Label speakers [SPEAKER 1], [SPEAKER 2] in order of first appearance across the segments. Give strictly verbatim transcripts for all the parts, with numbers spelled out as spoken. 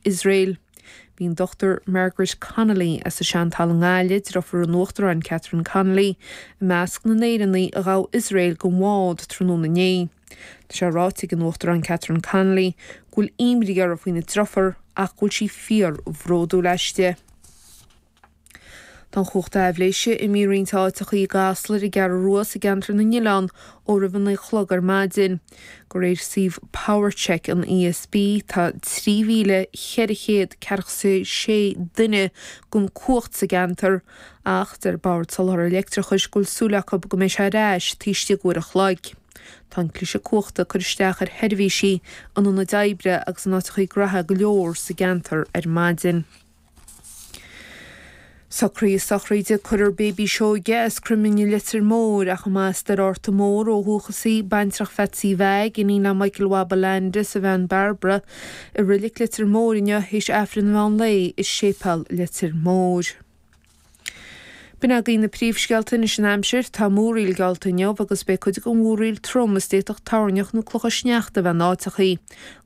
[SPEAKER 1] Iosrael. Bhí an Dr Margaret Connolly as an Seantalamh i nGaillimh, deirfiúr an Uachtaráin Catherine Connolly, i measc na nÉireannaigh a ghabh Iosrael den bhád tráthnóna inné. Tá sé ráite ag an Uachtarán Catherine Connolly go bhfuil imní uirthi faoina deirfiúr ach go bhfuil sí fíorbhródúil aisti. Tá an chumhacht aibhléise imithe i roinnt áiteacha i gCasla ar an gCeathrú Rua is i gceantar na nOileán ó roimh a naoi a chlog ar maidin. De réir suíomh PowerCheck an ESB tá trí mhíle ceithre chéad ceathracha sé duine gan cumhacht sa gceantar ach deir Bord Soláthair Leictreachais go bhfuil súil acu go mbeidh sé ar ais taobh istigh d'uair a chloig. Tá an cliseadh cumhachta ag cur isteach ar sheirbhísí in ionaid oibre agus in áiteacha gnoithe go leor sa gceantar ar maidin. Socruithe sochraide curtha ar Baby Seoige as Croimlinn i Leitir Móir ach amach as Doire Fhearta Mór ó dhúchas í, baintreach Phatsy Mheaig, iníon le Michael Waba Landis, a bhean Barbara, i Reilig Leitir Móir inniu théis Aifreann an mheán lae i Séipéal Leitir Móir. B'in agaibh na príomhscéalta anois an aimsir, tá múraíl geallta inniu agus beidh cuid den mhúraíl trom is d'fhéadfadh toirneach nó clocha sneachta a bheith in áiteachaí.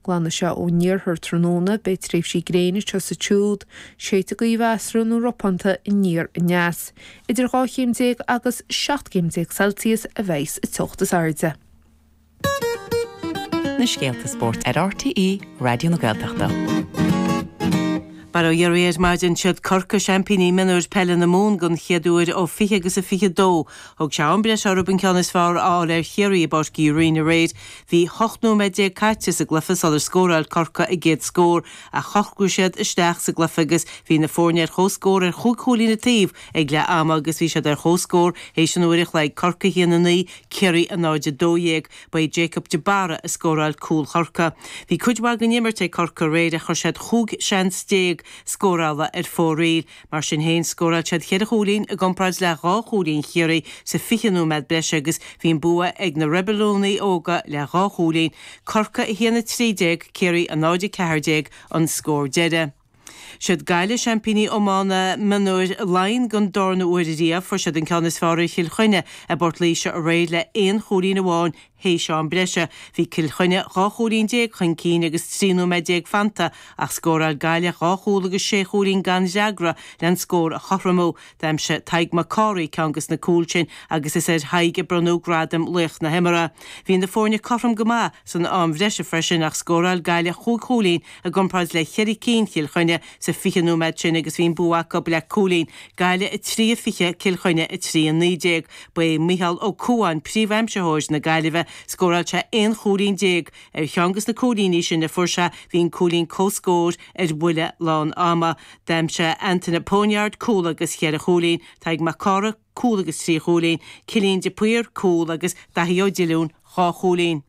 [SPEAKER 1] Glanfaidh sé ón iarthar tráthnóna, beidh tréimhsí gréine anseo is ansiúd, séidfidh gaoth mheasartha nó ropánta aniar aneas. Idir dhá chéim déag agus seacht gcéim déag Celsius a bheidh sa teocht is airde.
[SPEAKER 2] Na scéalta spóirt ar RTÉ Raidió na Gaeltachta.
[SPEAKER 3] Bail ó Dhia oraibh ar maidin siad Corcaigh seaimpíní mionúir peile na Mumhan den chéad uair ó fiche agus a fiche dó. Thóg sé am breise orthu an ceann is fearr a fháil ar Chiarraí i bPáirc Uí Rinn aréir. Bhí ocht nóiméad déag caite sa gcluiche sular scóráil Corcaigh a gcéad scór ach shocraigh siad isteach sa gcluiche agus bhí na foirne ar comhscór ar chúig chúilín an taobh ag leath ama agus bhí siad ar comhscór théis an uair a chloig, Corcaigh a haon a naoi, Ciarraí a náid a dó dhéag. Ba é Jacob de Barra a scóráil cúl Chorcaí. Bhí cuid mhaith den imirt ag Corcaigh aréir ach chuir siad chúig seans déag scórála ar fóraoil. Mar sin féin, scóráil siad cheithre chúilín i gcomparáid le dhá chúilín Chiarraí sa fiche nóiméad breise agus bhí an bua ag na Reibiliúnaigh óga le dhá chúilín, Corcaigh a haon a trí déag, Ciarraí a náid a ceathair déag an scór deiridh. Siad Gaillimh seaimpíní iomána mionúir Laighean den darna huair riamh. Fuair siad an ceann is fearr ar Chill Chainnigh i bPort Laoise aréir le aon chúilín amháin théis am breise. Bhí Cill Chainnigh dhá chúilín déag chun cinn agus trí nóiméad déag fanta ach scóráil Gaillimh dhá chúl agus sé chúilín gan fhreagra le an scór a chothromú. D'aimsigh Tadhg Mac Cárthaigh ceann des na cúil sin agus is ar Thadhg a bronnadh gradam laoch na himeartha. Bhí na foirne cothrom go maith san am bhreise freisin ach scóráil Gaillimh chúig chúilín i gcomparáid le ceithre cinn Chill Chainnigh sa fiche nóiméad sin agus bhí an bua acu le cúilín, Gaillimh a trí a fiche, Cill Chainnigh a trí a naoi déag. Ba é Micheál Ó Cuáin príomhaimsitheoir na Gaillimhe, scóráil sé aon chúilín déag. Ar cheann des na cúilíní sin a fuair sé bhí an cúilín comhscóir ar bhuille lán ama. D'aimsigh Antaine Poniard cúl agus cheithre chúilín, Tadhg Mac Cárthaigh cúl agus trí chúilín, Cillian de Paor cúl agus Daithí Ó Diollúin dhá chúilín.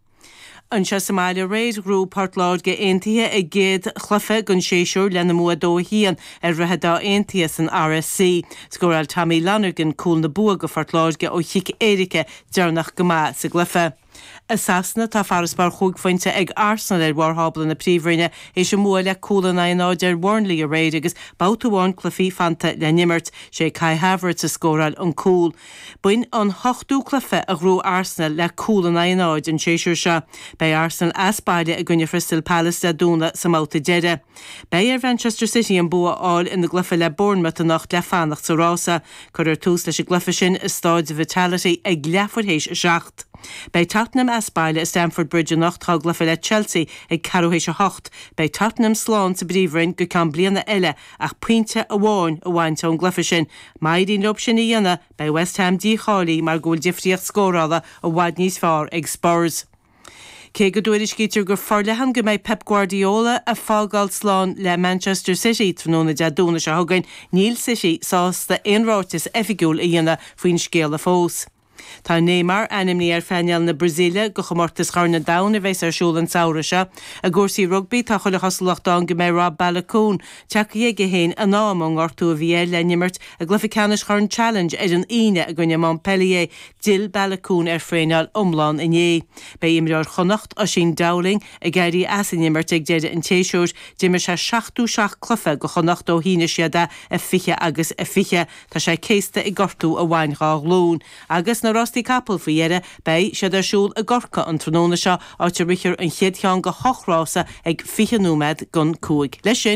[SPEAKER 3] Anseo sa mbaile aréir, ghnóthaigh Port Láirge Aontaithe a gcéad chluiche den séasúr lena mbua a dó a haon ar Dhroichead Átha Aontaithe san RSC. Scóráil Tommy Lonergan cúl na bua do Phort Láirge ó chic éirice deireanach go maith sa gcluiche. I Sasana, tá farasbarr chúig phointe ag Arsenal ar bharr thábla na Príomhroinne théis a mbua le cúl in aghaidh a náid ar Burnley aréir agus babhta amháin cluichí fanta le n-imirt. Sé Kai Havertz a scóráil an cúl. B'in an t-ochtú cluiche a ghnóthaigh Arsenal le cúl in aghaidh a náid an séasúr seo. Beidh Arsenal as baile i gcoinne Chrystal Palace Dé Domhnaigh sa mbabhta deiridh. Beidh ar Mhanchester City an bua a fháil ina gcluiche le Bournemouth anocht le fanacht sa rása. Cuirfear tús leis an gcluiche sin i Stáid Vitality ag leathuair théis a seacht. Beidh Tottenham as baile i Stamford Bridge anocht dá gcluiche le Chelsea ag ceathrú théis a hocht. Beidh Tottenham slán sa bPríomhroinn go ceann bliana eile ach pointe amháin a bhaint ón gcluiche sin. Má éiríonn leo sin a dhéanamh, beidh West Ham dícháilithe mar go bhfuil difríocht scórála i bhfad níos fearr ag Spurs. Cé go dtuairiscítear go forleathan go mbeidh Pep Guardiola ag fágáil slán le Manchester City tráthnóna Dé Domhnaigh seo chugainn, níl City sásta aon ráiteas oifigiúil a dhéanamh faoin scéala fós. Tá Neymar ainmnithe ar phainéal na Brasaíle do chomórtas Chorn an Domhain a bheas ar siúl an samhradh seo. I gcúrsaí rugbaí, tá chuile chosúlacht ann go mbeidh Rob Baloucoune tagtha chuige féin in am ón ngortú a bhí air le n-imirt i gcluiche ceannais Chorn Challenge ar an Aoine i gcoinne Montpellier. D'fhill Baloucoune ar thraenáil iomlán inné. Beidh imreoir Chonnacht, Oisín Dowling, ag éirí as an imirt ag deireadh an tséasúir. D'imir sé seachtó seacht cluiche do Chonnacht ó shínigh siad é i fiche agus a fiche. Tá sé céasta ag gortú a bhain dhá ghlúin. Agus na rástaí capall faoi dheireadh, beidh siad ar siúl i gCorcaigh an tráthnóna seo, áit a rithfear an chéad cheann de hocht rása ag fiche nóiméad don cúig. Leis sin,